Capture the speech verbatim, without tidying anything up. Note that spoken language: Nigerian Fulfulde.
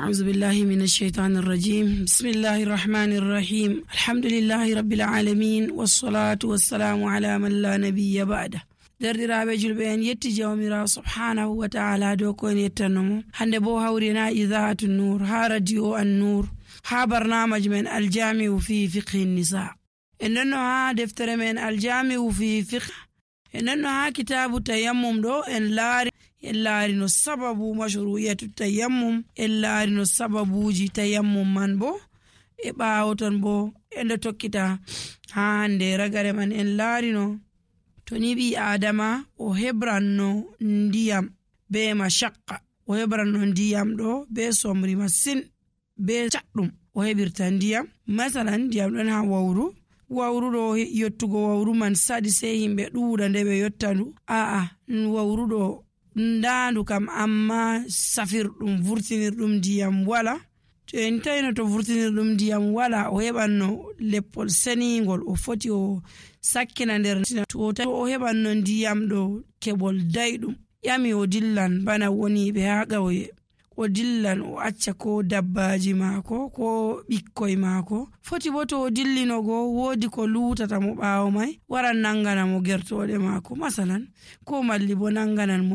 أعوذ بالله من الشيطان الرجيم. بسم الله الرحمن الرحيم. الحمد لله رب العالمين والصلاة والسلام على من لا نبي بعده. derdiraaɓe julɓe en yetti jawmirawo subhanahu wa ta'ala dow ko en yettannomo hande bo hawrina idaatu nur ha radio an nur ha barnamaji men aljami'u fi fiqhi nisa en nonno ha deftere men aljami'u fi fiqh en nonno ha kitabu tayammum do en laari en laari no sababu mashru'iyatu tayammum en laari no sababuji tayammum man bo e ɓaawo ton bo en do tokkita ha hande ragare man en laari no to ni ɓi adama o hebranno ndiyam be mashaqqa o hebranno ndiyam ɗo be somri masin be caɗɗum o heɓirta ndiyam masalan ndiyam ɗon ha wawru wawru ɗo yottugo wawru man sadi sei himɓe ɗuuɗa nde ɓe yottandu a'a wawru ɗo ndaandu kam amma safirɗum vurtinirɗum ndiyam wala to en tawino to vurtinirɗum ndiyam wala o heɓanno leppol seningol o foti o sakkina nder to o heɓanno ndiyam ɗo keɓol dayɗum yami o dillan bana woniɓe ha ƙauye o dillan o acca ko dabbaji maako ko ɓikkoy maako foti bo to o dillinogo woodi ko luutata mo ɓaawo may waran nangana mo gertoɗe maako masalan ko malli bo nanganan mo